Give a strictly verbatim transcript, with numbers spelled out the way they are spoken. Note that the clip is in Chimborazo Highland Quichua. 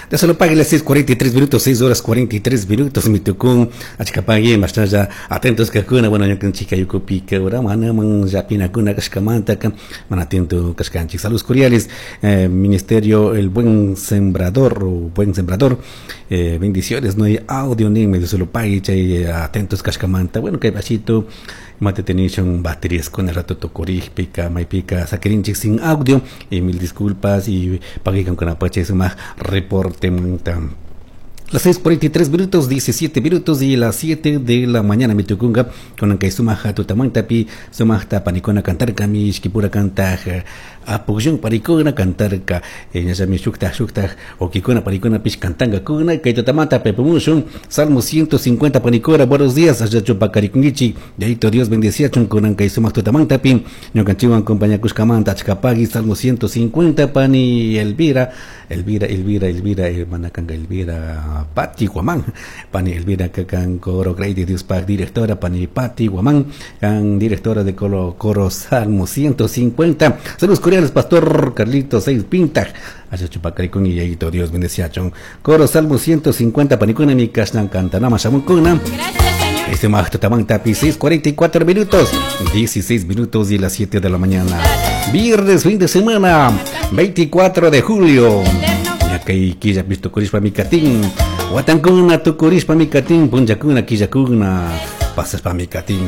De solo pague las seis cuarenta y tres minutos, seis horas cuarenta y tres minutos, mi tucún, achcapague, más allá, atentos que cuna, bueno, yo chica yucupi, que ahora, mana, man, yapina cuna, cascamanta, man, atento, cascanchi. Saludos cordiales, eh, Ministerio El Buen Sembrador, o Buen Sembrador, eh, bendiciones, no hay audio ni medio solo pague, chay, atentos, cascamanta, bueno, que bachito, mate tenishon baterías con el rato tocorij, pica, maipica, saquerinchik sin audio, y mil disculpas, y pague con apache suma reporte monta. Las seis cuarenta y tres minutos, diecisiete minutos y las siete de la mañana, mi tucunga, con que suma jatutamanta pi, suma tapanicona cantar cami, ishkipura cantar, apugyun paricona cantar ka, eh, mi shukta, shukta, okikona paricona pish cantanga kuna, que tutamanta pepumushun, Salmo ciento cincuenta panicora, buenos días, allá chupacaricungichi, de Dios bendecía chuncunan que suma tutamanta pi, ñocanchiwan compañía cuscamanta, achcapagui, Salmo ciento cincuenta pani Elvira, Elvira, Elvira, Elvira, hermana canga Elvira, Pati Guamán, Pani Elvira Cacan Coro Grey de Dios Pac, directora Pani Pati Guamán, can directora de Coro, Coro Salmo ciento cincuenta. Saludos cordiales, Pastor Carlito Seis Pinta, allá Chupacaricón y Yayito, Dios bendice a Chon. Coro Salmo ciento cincuenta, Panicuna, mi Cashnan Cantanama, Shamuncuna. Este magto tamán tapi, seis cuarenta y cuatro minutos, dieciséis minutos y las siete de la mañana. Viernes, fin de semana, veinticuatro de julio. Kay killa pisto kurishpa mikatin, watankuna tukurishpa mikatin, punllakuna killakuna pasashpa mikatin.